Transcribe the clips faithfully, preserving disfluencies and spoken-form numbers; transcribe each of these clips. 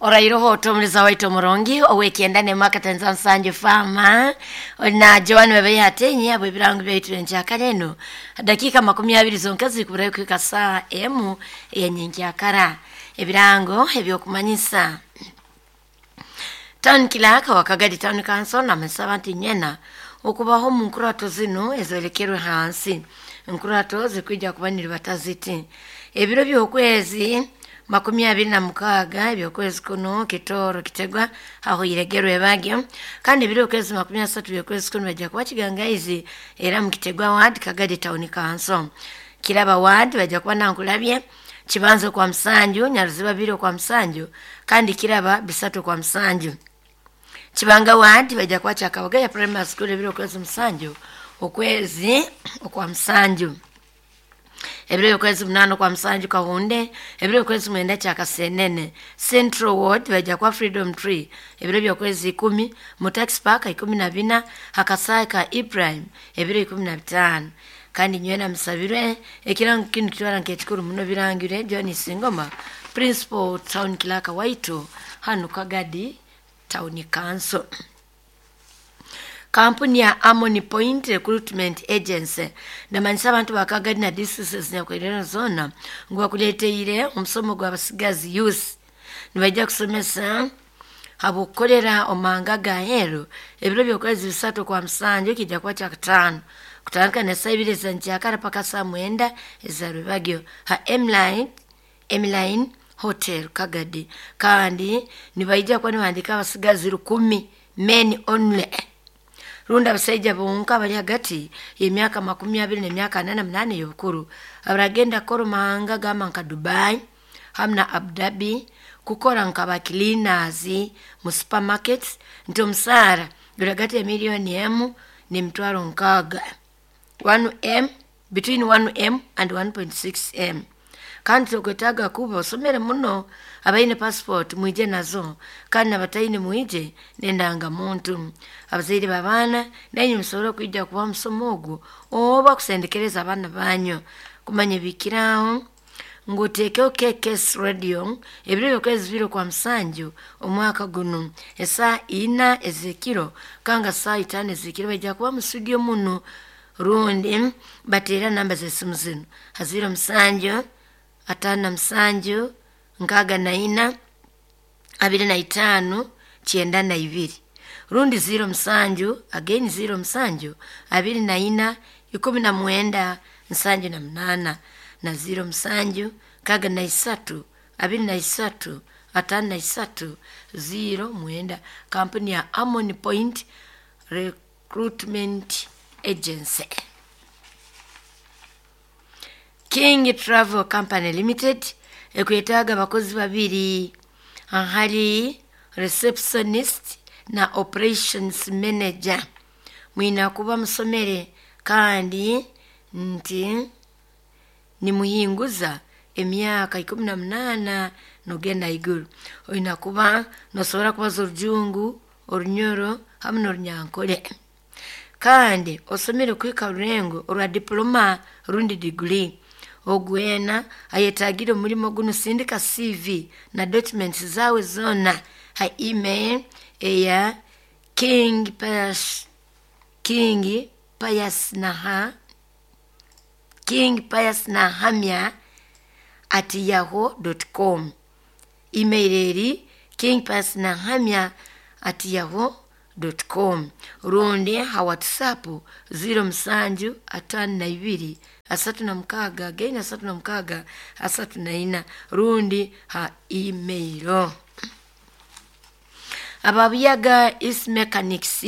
Orairoho otomuliza waitu omurungi owekyenda nemwaka tanza nsanju fama na Joan webe yatenye abo ebirango byaitu enkyakara eno dakika makumi abiri zonka zikuburayo kuhika saa emu eyenyenkyakara. Ebirango ebyokumanyisa Town Clerk wa Kagadi Town Council namesaba nti nyena okubaho mu nkurato zino ezolekerwe hansi. Nkurato zikwija kuba niribataziti ebiro by'okwezi makumi abiri na mukaaga ebyokwezi kuno Kitoro Kitegwa aho iregerwe bagyo, kandi ebiro by'okwezi makumi asatu by'okwezi kuno bajja kuba Kigangaizi era mu Kitegwa Ward Kagadi Town Council. Kiraba Ward bajja kuba Nankulabye Kibanzo kwa Msanju, Nyaruziba biro kwa Msanju, kandi Kiraba bisatu kwa Msanju. Kibanga Ward bajja kuba Kyakabagaya Primary School ebiro kwezi Msanju okwezi okwa Msanju. Ebiro by'okwezi munano kwa Msanju Kahunde, ebiro by'okwezi mwenda Kyakasenene. Central Ward bajja kuba Freedom Tree ebiro by'okwezi ikumi, mu Tax Park ikumi na bina, Hakasai ka Ibrahim ebiro ikumi na bitaano. Kandi nywena musabirwe ekirango kinu kitwara nk'ekikuru muno birangire John Singoma Principal Town Clerk waitu hanu Kagadi Town Council. Kampuni ya Amoni Point Recruitment Agency namanyisa abantu ba Kagadi na districts nyakwerera zona ngu bakuleteire omusomo gw'abasigazi youth. Nibajja kusomesa habukorera omanga gaheru ebiro by'okwezi bisatu kwa Msanju kijja kuba kyakataano kutandika na saa ibiri za nkyakara paka saa mwenda eza rubagyo ha Emline, Emline Hotel Kagadi. Kandi nibaija kuba nibahandika abasigazi rukumi men only, rundi abasaija bonka bali hagati y'emyaka makumi abiri n'emyaka ana na munana ey'obukuru abaragenda kukora omahanga gamba nka Dubai hamu na Abu Dhabi kukora nka ba cleaners mu supermarkets, nti omusaara guri hagati ya miliyoni emu n'emitwaro nkaaga, one M between one M and one point six M. Kandi tokwetaaga kuba osomere muno, abaine passport mwije nazo, kandi nabataine mwije n'endangamuntu. Abazaire b'abaana nainywe musobora kwija kuba omusomo ogwo oba kusendekereza abaana banyu kumanya ebikiraho ngu oteekeho K K S Radio ebiro by'okwezi bibiri kwa Msanju omwaka guno esaa ina ez'ekiro kanga saa itaano ez'ekiro bajja kuba mu studio muno, rundi bateera namba z'esimu zino ha ziro musanju ataano na musanju nkaaga na ina abiri na itaano kyenda na ibiri, rundi ziro musanju again ziro musanju abiri na ina ikumi na mwenda nsanju na munana na ziro musanju nkaaga na isatu abiri na isatu ataano na isatu ziro mwenda. Kampuni ya Amoni Point Recruitment Agency. King Travel Company Limited ekwetaaga abakozi babiri ahari receptionist na operations manager. Mwina kuba musomere kandi nti nimuhinguza emyaka ikumi na munana nogenda iguru. Oyina kuba nosobora kubaza orujungu, orunyoro hamu n'orunyankole. Kandi osomere kuhika rurengo orwa diploma rundi degree. Ogwena ayetagire omulimo guno sindika C V na documents zawe zona ha email eya King Pius, King Pius naha King Pius Nahamya at yahoo dot com. Email eri King Pius Nahamya at yahoo dot com. Rundi ha WhatsApp ziro musanju atano na ibiri asatu na mukaaga again asatu na mukaaga asatu na ina, rundi ha email. Ababuyaga East Mechanics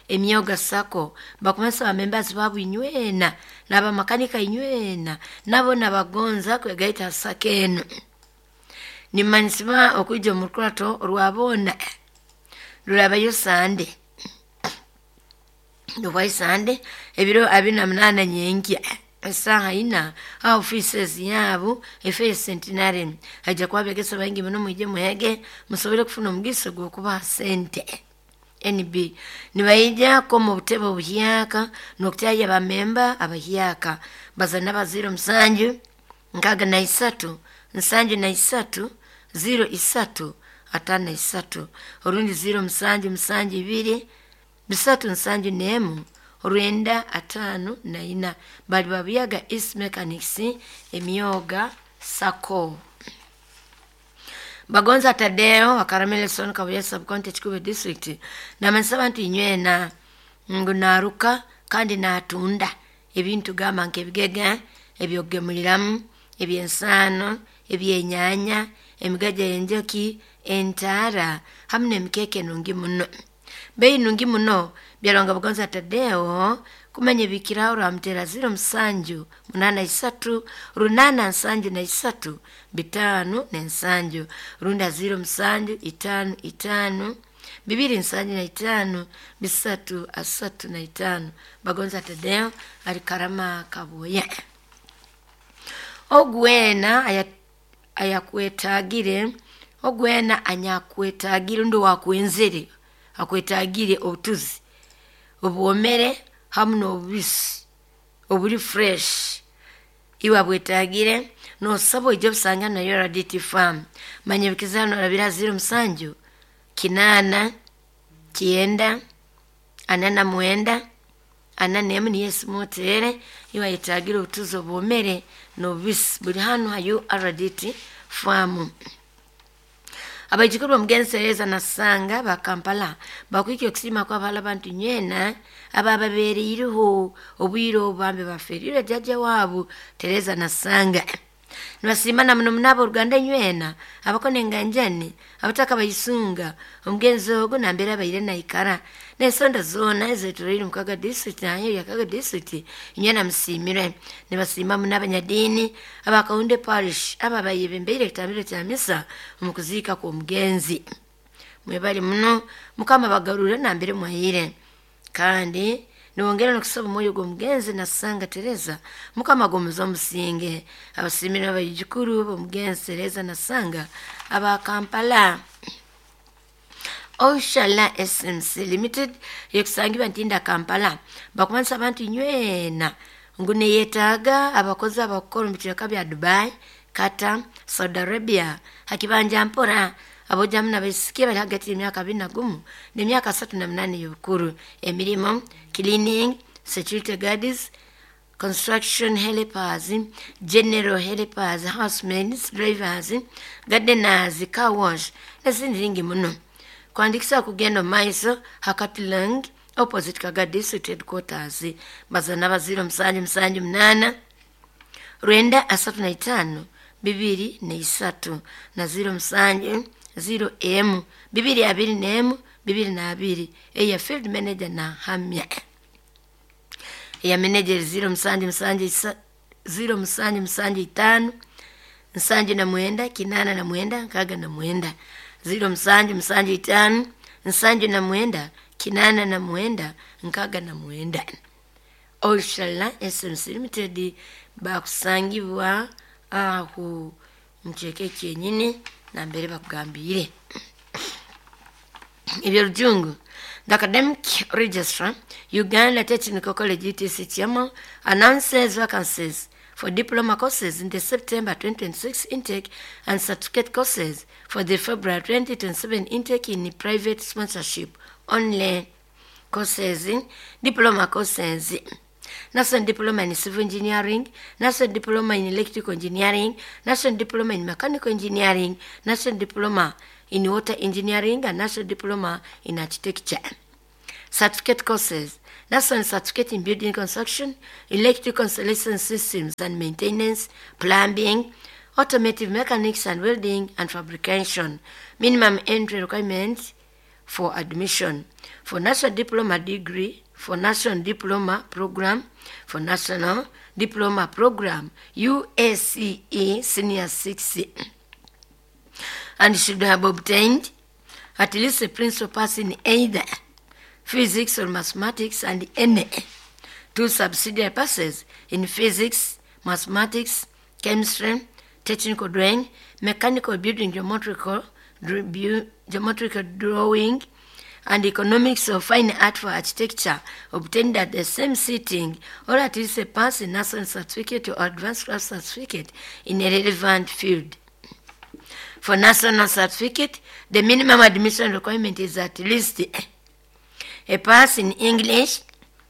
emyoga sako bakumasa abamembers babu inywena n'abamakanika inywena nabo nabagonza kwegaita sako eno. Nimanyisibwa okwija omu rukurato orwabona rurabayo Sande rwayi Sande ebiro abiri na munana nyenkya esaha ina ha offices yabo efe Centenary. Haja kuba abegesa baingi muno mwije muhege musobole kufuna omugisa gw'okubaha sente. N B nibaija ko mu butebe obuhyaka n'okutaya abamemba abahyaka bazana baziro musanju nkaaga na isatu nsanju na isatu ziro isatu atano isatu orundi ziro musanju musanju ibiri bisatu nsanju nemu rwenda atano na ina. Bali babuyaga East Mechanics emyoga sako. Bagonza Tadeo Wakaramele Kabuye Sub-County Kikuube District namanyisa abantu inywena ngu naruka kandi natunda ebintu gamba nk'ebigega ebyokugemuliramu, ebyensaano, ebyenyanya, emigaja y'enjoki, entaara hamu n'emikeeka enungi muno. Bei nungi muno byalonga Bagonza Tadeo kumanya ebikiraho rwamutera ziro musanju munana isatu runana nsanju na isatu bitano n'ensanju runda ziro musanju itano itano bibiri nsanju na itano bisatu asatu na itano. Bagonza Tadeo ali Karama Kabuye. Ogwena ayakwetagire ogwena anyakwetagire undi wakwenzere akwetagire obutuzi obwomere hamu n'obubisi obuli fresh iwe abwetagire nosaba oije obusanga na U R D T farm. Manya ebikizano orabira ziro musanju kinana kyenda ana na mwenda ana nemu niyo esimu otere iwe ayetagire obutuzi obwomere n'obubisi buli hanu ha U R D T farm. Abaijukuru b'omugenzi Tereza Nasanga ba Kampala bakwikya okusima kw'abahala abantu nywena abababeereireho obwire obu bambi baferire jjajja waabo Tereza Nasanga. Nibasiimana muno muno abooruganda nywena abakona enganjani abataka bayisunga omugenzi ogu nambere abaire naikara n'ensonda zoona ezeetoreire omu Kaga District nayo ya Kaga District nywena musiimire. Nibasiima muno abanyadiini abakahunde parish ababayebembeire ekitambiro kya misa omu kuziika kw'omugenzi. Mwebale muno Mukama bagarure nambere mwahire kandi niwongera nokusaba omwoyo gw'omugenzi Nasanga Tereza Mukama gomuza omusinge. Abasimire abaijukuru b'omugenzi Tereza Nasanga aba Kampala. Oshala S M C Limited yekusangibwa Ntinda Kampala bakumanisa abantu nywena ngu neyetaaga abakozi abakukora omu bicweka bya Dubai, Qatar, Saudi Arabia hakibanja mpora abojamu n'abaisiki bali hagati y'emyaka abiri na gumu n'emyaka asatu na munana y'obukuru. Emirimo cleaning, security guards, construction helpers, general helpers, housemaids, drivers, gardeners, car wash n'ezindi nyingi muno. Kuandikisa kugenda omu maiso Hakatilang opposite Kaga District Headquarters. Bazana baziro musanju musanju munana rwenda asatu na itano bibiri na isatu na ziro musanju ziro emu bibiri abiri nemu bibiri na abiri. Eya field manager na hamya eya manager ziro musanju musanju isa, ziro musanju musanju itano nsanju na mwenda kinana na mwenda nkaga na mwenda ziro musanju musanju itano nsanju na mwenda kinana na mwenda nkaga na mwenda. Oshala S M C Limited bakusangibwa aho mcheke kyenyini na mbere bakugambire. Ebyolujungu. The Academic Registrar, Uganda Technical College U T C Chairman, announces vacancies for diploma courses in the September twenty twenty-six intake and certificate courses for the February twenty twenty-seven intake in private sponsorship only courses, diploma courses. National Diploma in Civil Engineering, National Diploma in Electrical Engineering, National Diploma in Mechanical Engineering, National Diploma in Water Engineering, and National Diploma in Architecture. Certificate courses, National Certificate in Building Construction, Electrical Installation Systems and Maintenance, Plumbing, Automotive Mechanics and Welding and Fabrication. Minimum entry requirements for admission. For National Diploma degree, for National Diploma Program, for National Diploma Program, U A C E Senior six, and should have obtained at least a principal pass in either physics or mathematics and any two subsidiary passes in physics, mathematics, chemistry, technical drawing, mechanical building, geometrical, geometrical drawing, and economics of fine art for architecture obtained at the same sitting, or at least a pass in national certificate or advanced class certificate in a relevant field. For national certificate, the minimum admission requirement is at least a pass in English,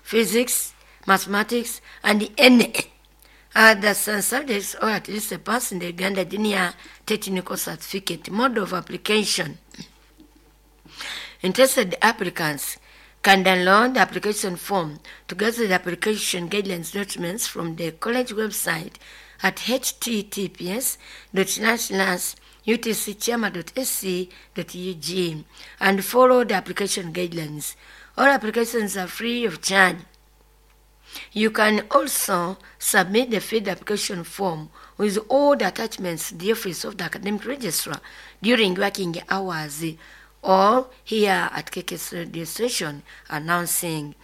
physics, mathematics, and any other science subjects, or at least a pass in the Uganda Junior Technical Certificate. Mode of application. Interested applicants can download the application form together with the application guidelines documents from the college website at https utcchairman.sc.ug and follow the application guidelines. All applications are free of charge. You can also submit the filled application form with all the attachments to the office of the academic registrar during working hours or here at K K S radio station announcing.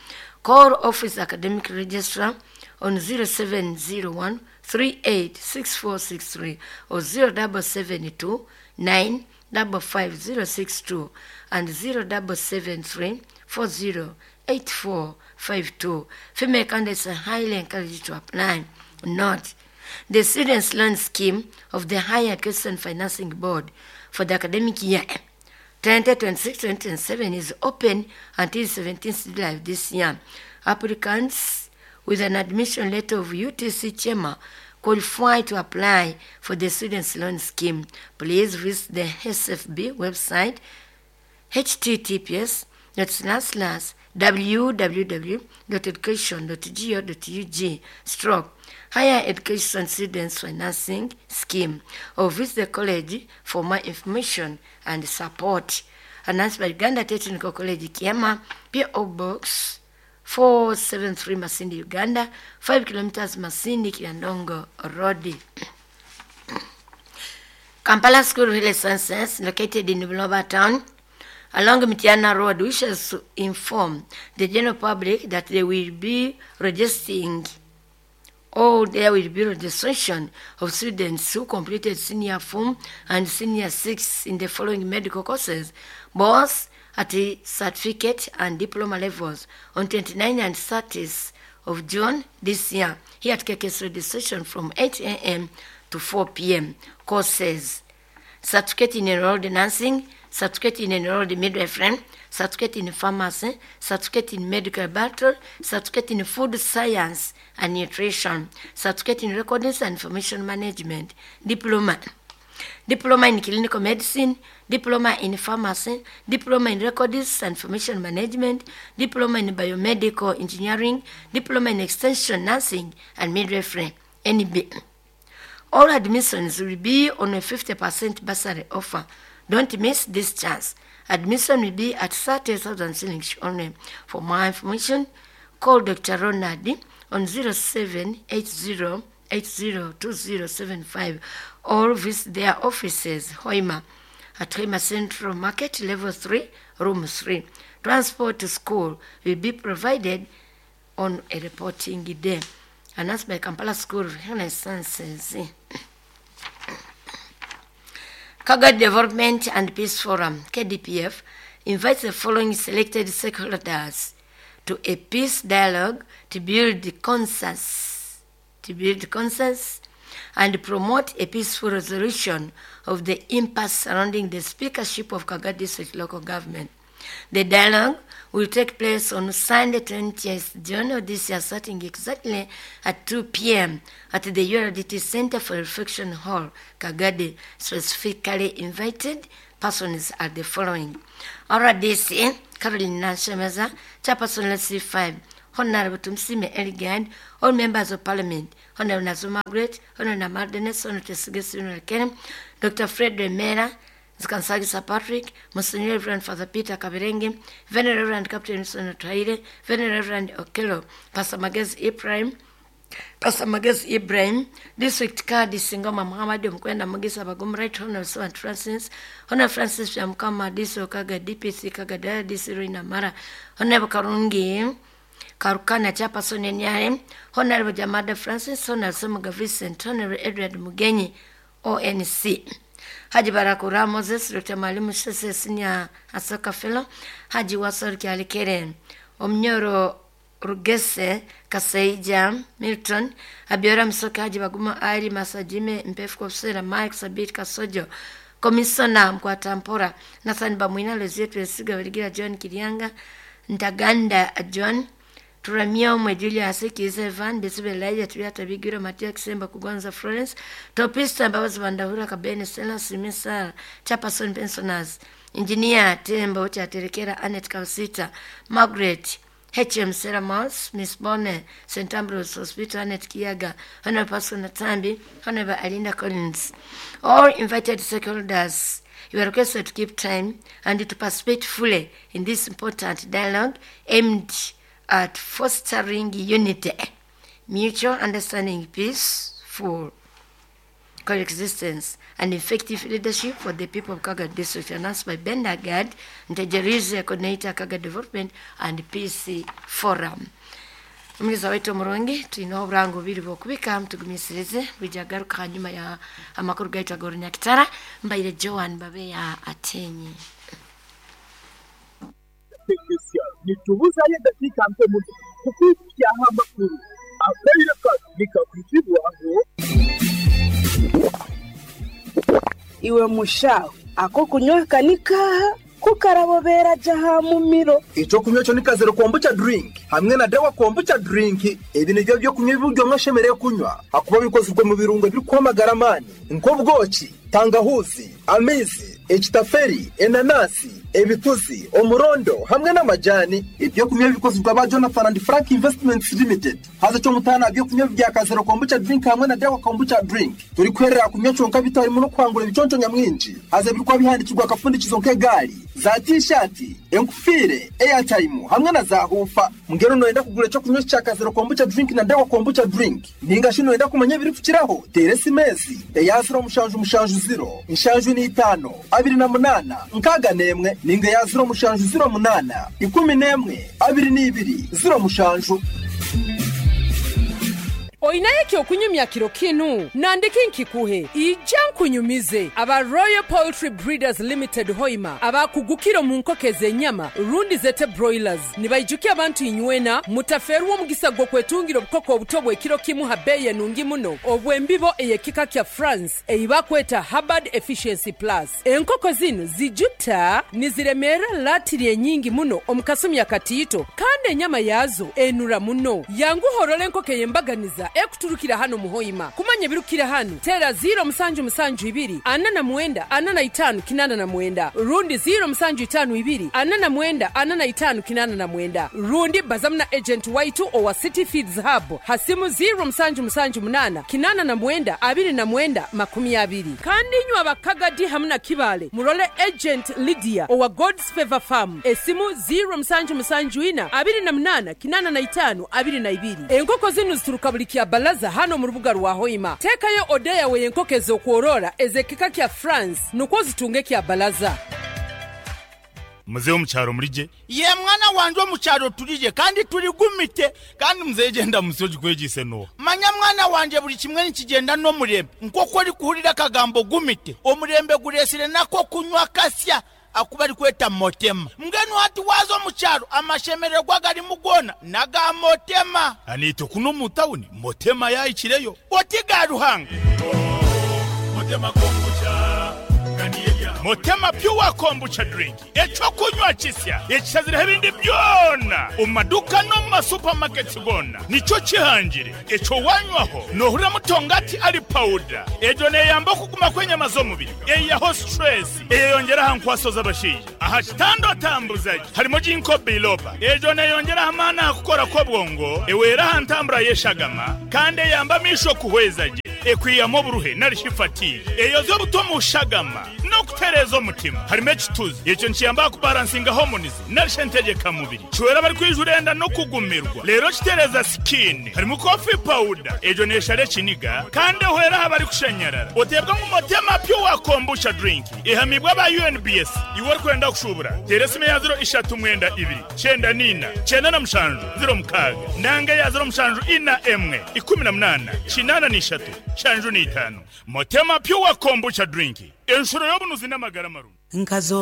Call office academic registrar on zero seven zero one three eight six four six three or zero double seven two nine double five zero six two and zero double seven three four zero eight four five two. Female candidates are highly encouraged to apply. Note, the Students' Loan Scheme of the Higher Education Financing Board for the academic year twenty twenty-six twenty twenty-seven is open until seventeenth July of this year. Applicants with an admission letter of U T C Chema qualify to apply for the Students' Loan Scheme. Please visit the S F B website https dot slash slash www dot education dot go dot ug stroke Higher Education Students Financing Scheme or visit the college for more information and support. Announced by Uganda Technical College Kiama, P O Box four seven three Masindi, Uganda, five kilometers Masindi Kiandongo Road. Kampala School of Health Sciences, located in Buloba Town, along Mitiana Road, wishes to inform the general public that they will be registering or there will be registration of students who completed senior form and senior six in the following medical courses, both at the certificate and diploma levels, on twenty-ninth and thirtieth of June this year, here at K K S registration from eight A M to four P M. Courses: certificate in enrolled nursing, certificate in enrolled midwifery, certificate in pharmacy, certificate in medical laboratory, certificate in food science and nutrition, certificate in records and information management, diploma, diploma in clinical medicine, diploma in pharmacy, diploma in records and information management, diploma in biomedical engineering, diploma in extension nursing and midwifery, N B. All admissions will be on a fifty percent bursary offer. Don't miss this chance. Admission will be at thirty thousand shillings only. For more information, call Doctor Ronald on zero seven eight zero eight zero two zero seven five or visit their offices, Hoima, at Hoima Central Market, Level three, Room three. Transport to school will be provided on a reporting day. Announced by Kampala School of Health Sciences. Kagadi Development and Peace Forum, K D P F, invites the following selected stakeholders to a peace dialogue to build consensus, to build consensus and promote a peaceful resolution of the impasse surrounding the speakership of Kagadi District Local Government. The dialogue will take place on Sunday, twentieth June of this year, starting exactly at two P M at the U R D T Center for Reflection Hall, Kagadi. Specifically invited persons are the following: R D C, Caroline Nashemeza, Chairperson L C five, Honorable Tumsime Eligand, all members of Parliament, Honorable Nazo Margaret, Honorable Namardenes, Honorable Tesige Ken, Doctor Fred Remera, Kansagisa Patrick, Monsignor Reverend Father Peter Kaberenge, Venerable Reverend Captain Wilson Traire, Venerable Reverend Okello, Pastor Magezi Ibrahim, Pastor Magezi Ibrahim, District Card Singoma Muhammad Mkwenda Mugisa Bagum, Right Honorable Servant Francis, Honorable Francis Mkama, D C Kaga, D P C Kaga, D C Ruina Mara, Honorable Karungi Karukana Chairperson N R M, Honorable Jamada Francis, Honorable Semuga Vincent, Honorable Edward Mugenyi, O N C. Haji Barakura Moses, Doctor Mwalimu Sese Senior Asoka Fellow, Haji Wasor Kialikere, Omnyoro Rugese Kaseija Milton, Abiora Msoka, Haji Baguma Ali Masajime, Mpefu Kofsera, Mike Sabit Kasojo, Komisona Mkwatampora Nathan Bamwina Lozia Twesiga Barigira John Kiryanga Ntaganda John Turamia Julius Kiza Evan Besibe Elijah Tuyata Bigiro Matia Kisemba Kugonza Florence Topista Mbabazi Bandahura Kabene Stella Simisa Chapason Pensioners Engineer Tembo Chaterekera Anet Kausita Margaret H M Seramos Miss Bonne Saint Ambrose Hospital Anet Kiaga Honorable Pascal Natambi Honorable Alinda Collins. All invited stakeholders, you are requested to keep time and to participate fully in this important dialogue aimed at fostering unity, mutual understanding, peaceful coexistence, and effective leadership for the people of Kaga District, announced by Benda Gad, Ntegereeze Coordinator, Kaga Development and Peace Forum. Omuliza waitu omurungi tulina oburango bubiri bwokubika mutugumisirize bwijagaruka hanyuma ya amakuru gaitu ag'orunyakitara. Mbaire Joan Babeya Atenyi. Nitubuzayo eddakiika ntono kukuukyaho amakuru akaire kano nikakuzibwaho. Iwe mushaho ako kunywa kanika kukarabobera jaha mumiro. Ekyokunywa kyo ni kazero kombucha drink hamwe na dawa kombucha drink. Ebi nibyo byokunywa ebiryo mwashemereire kunywa hakuba bikozwe mu birungo ebirikwamagara amaani nk'obwoki, tangahuzi, amaizi, ekitaferi, enanasi, ebituzi, omurondo hamwe n'amajani. Ebyokunywa bikozwe aba Jonathan and Frank Investments Limited. Haza cyo mutana ebyokunywa bya kazero kombucha drink hamwe na dawa kombucha drink turi kwerera kunywa cyonka bitarimo no kwangura ibiconco nyamwinji. Haza birikwa bihandikirwa akafundikizo nk'egari za t-shirt, enkufire, airtime hamwe na za hufa. Mungero noyenda kugura cyo kunywa cya kazero kombucha drink na dawa kombucha drink ninga shino yenda kumanya biri kukiraho teresi mezi eya zero mushanju mushanju zero inshanju ni itano abiri na munana nkaga nemwe ninga ya zero mushanju zero munana ikumi nemwe abiri n'ibiri zero mushanju. Oinaye kyokunyumya kiro kinu nandiki nkikuhe ija nkunyumize aba Royal Poultry Breeders Limited Hoima abakugukiro mu nkoko ez'ennyama rundi zete broilers nibaijukia abantu inywena mutaferwa omugisa gw'okwetungira obukoko obuto bw'ekiro kimu ha bbeeyi enungi muno obw'embibo ey'ekika kya France eibakweta Hubbard Efficiency Plus. Enkoko zino zijuta niziremeera latiri enyingi muno omu kasumi akatiito kandi ennyama yaazo enura muno. Yanguhorora enkoko ey'embaganiza ekuturukira hano muhoima. Kumanya birukira hano tera zero musanju musanju ibiri ana na mwenda ana na itanu kinana na mwenda rundi zero musanju itanu ibiri ana na mwenda ana na itanu kinana na mwenda rundi bazamna agent waitu owa City Feeds Hub hasimu zero musanju musanju munana kinana na mwenda abiri na mwenda makumi abiri. Kandi nywa abakagadi hamna kibale murole agent Lydia owa God's Favor Farm esimu zero musanju musanju ina abiri na munana kinana na itanu abiri na ibiri. Enkoko zinu zituruka buli kya balaza hano mu rubuga rwa Hoima. Tekayo odeya we enkoko ez'okworora ez'ekika kya France nukwo zitunge kya balaza. Mzee omukyaro mulije ye mwana wanje omukyaro tulije kandi tuligumite kandi mzee genda musoji kwegise no manya mwana wanje buli kimwe nikigenda n'omurembe nk'oku ori kuhurira akagambo gumite omurembe guresire nako kunywa kasya akuba ari kweta motema. Mbwenu hati waza omukyaro amashemererwa gari mugona naga motema anito kuno mu tawuni motema yayikireyo oti ga Ruhanga motema kombucha. Motema pure kombucha drink ekyokunywa kisya ekishazireho ebindi byona omu maduka no mu masupamaketi gona nikyo kihangire ekyo wanywaho nohurira mutongati ari powder egyo neyamba okuguma kw'enyama z'omubiri eyaho stress eyeyongera aha nkwaso z'abashaija aha kitanda otambuzaje harimo ginkgo biloba egyo neyongera amaani aha kukora kw'obwongo ewera aha ntambura y'eshagama kandi eyamba amisho kuhwezaje ekwiyamu oburuhe nari eyo z'obuto mushagama no kutereza omutima harimo ekituzi ekyo nkiyamba kubalansinga hormones narishe ntegeka mubiri kiwera bari kwijurenda no kugumirwa rero kitereza skin harimo coffee powder ejo neshare kiniga kandi ohera habari kushenyerera otebwa mu motema pure kombucha drink ihamibwa ba U N B S iwe kwenda kushubura teresime ya zero ishatu mwenda ibiri cyenda nina cyenda na mushanju zero mukaga nanga ya zero mushanju ina emwe ikumi na munana kinana n'ishatu shanju n'itanu. Motema pure kombucha drink enshuro y'obunuzi n'amagara marungi nkazo.